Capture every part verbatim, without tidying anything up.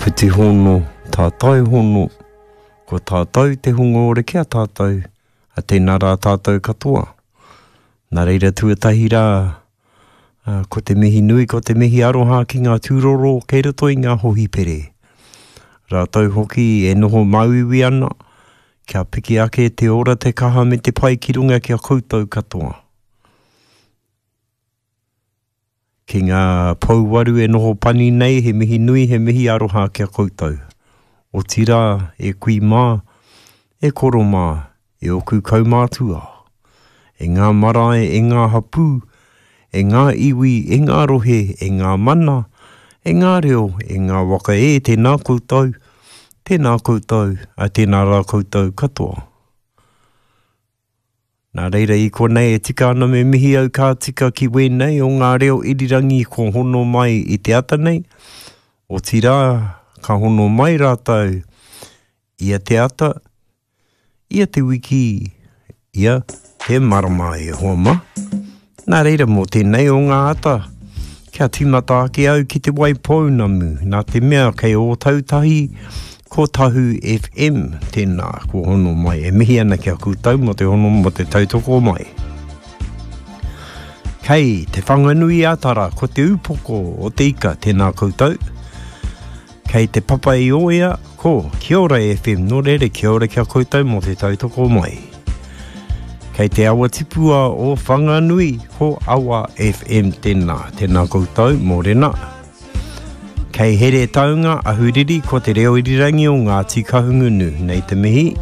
Whiti hono, tātai hono, ko tātou te hunga ora ki a tātou, a tēnā rā tātou katoa. Nā reira tuatahi rā, ko te mihi nui, ko te mihi aroha ki ngā tūroro kei roto i ngā hohipere. Rātou hoki e noho māuiui ana, kia piki ake te ora te kaha me te pai ki runga ki a koutou katoa. Ki ngā pouwaru e noho pani nei, he mihi nui, he mihi aroha ki a koutou. Otirā, e kui mā, e koro mā, e oku kaumātua. E ngā marae, e ngā hapū, e ngā iwi, e ngā rohe, e ngā mana, e ngā reo, e ngā waka e, tēnā koutou, tēnā koutou, a tēnā rā koutou katoa. Nā reira i konei e tika ana me mihi au ka tika ki wēnei o ngā reo irirangi ko hono mai i te ata nei, otirā ka hono mai rātou ia te ata, ia te wiki, ia te marama e hoa mā. Nā reira mō tēnei o ngā ata, kia tīmata ake au ki te Waipounamu, nā te mea kei Ōtautahi, ko Tahu F M, tēnā, ko hono mai. E mihi ana ki a koutou mō te hono mō te tautoko mai. Kei te Whanganui Atara, ko te upoko o te ika, tēnā koutou. Kei te Papa i Oea, ko Kia Ora F M, nō reira kia ora ki a koutou mō te tautoko mai. Kei te awa tipua o Whanganui, ko Awa F M tēnā, tēnā koutou, mōrena. Kei Heretaunga, Ahuriri, ko te reo irirangi o Ngāti Kahungunu, nei te mihi.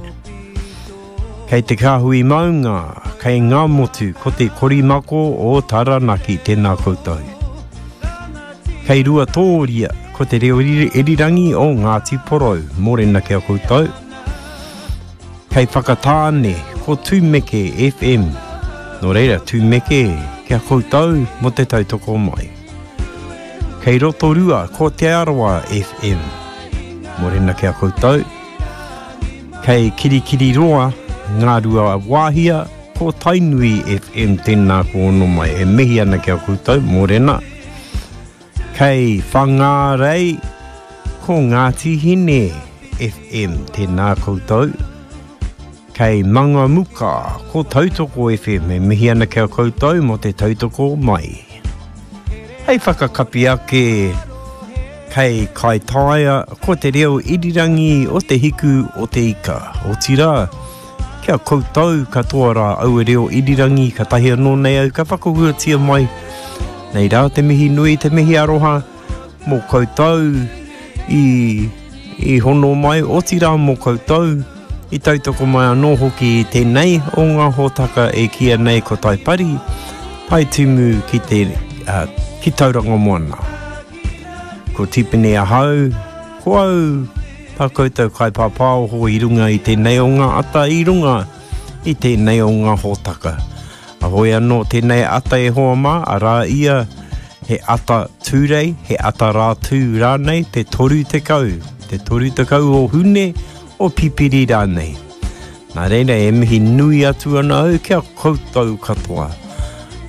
Kei te Kāhui Maunga, kei Ngāmotu, ko te Korimako o Taranaki, tēnā koutou. Kei Ruatōria, ko te reo irirangi o Ngāti Porou, mōrena ki a koutou. Kei Whakatāne, ko Tūmeke F M, nō reira Tūmeke ki a koutou mō te tautoko mai. Kei Rotorua, ko Te Arawa F M, mōrena ki a koutou. Kei Kirikiriroa, Ngā Rua Wāhia, ko Tainui F M tēnā ko ono mai. E mihi ana ki a koutou, mōrena. Kei Whangārei, ko Ngāti Hine F M tēnā koutou. Kei Mangamuka, ko Tautoko F M, e mihi ana ki a koutou mō te tautoko mai. Hei whakakapi ake, kei Kaitaia, ko te reo irirangi o te hiku o te ika. Otirā, kia koutou katoa rā aua reo irirangi, ka tahi anō nei au ka whakahuatia mai. Nei rā te mihi nui, te mihi aroha, mō koutou i, i hono mai, otirā mō koutou, i tautoko mai anō hoki i tēnei o ngā hōtaka e kīia nei ko Taipari, tai timu ki te, uh, ki Tauranga Moana. Ko Tipene ahau, ko au tā koutou kaipāpāoho i runga i tēnei o ngā ata, i runga i tēnei o ngā hōtaka. Ahoi anō tēnei ata e hoa mā, arā ia he ata tūrei, he ata rātū rānei, te toru tekau, te toru tekau o Hune, o Pipiri rānei. Nā reira e mihi nui atu ana au kia koutou katoa.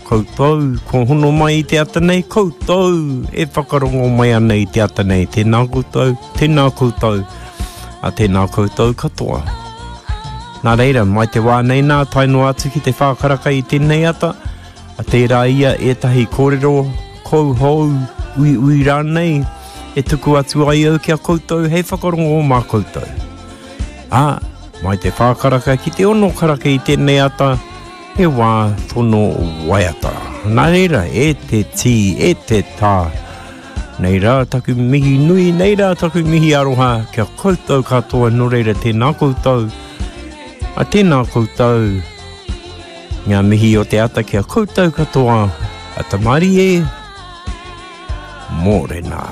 Koutou, ko hono mai i te ata nei, koutou e whakarongo mai ana i te ata nei. Tēnā koutou, tēnā koutou, a tēnā koutou katoa. Nā reira, mai te wā nei nā, tae noa atu ki te whākaraka i tēnei ata, a tērā ia ētahi kōrero, kouhou, uiui rānei, e tuku atu ai au ki a koutou hei whakarongo mā koutou. Ā, mai te whākaraka ki te ono karaka i tēnei ata, he wā tono waiata. Nā reira, e te tī, e te tā, nei rā taku mihi nui, nei rā taku mihi aroha, kia koutou katoa, nō reira tēnā koutou, a tēnā koutou, ngā mihi o te ata kia koutou katoa, a Tamari e, mōrena.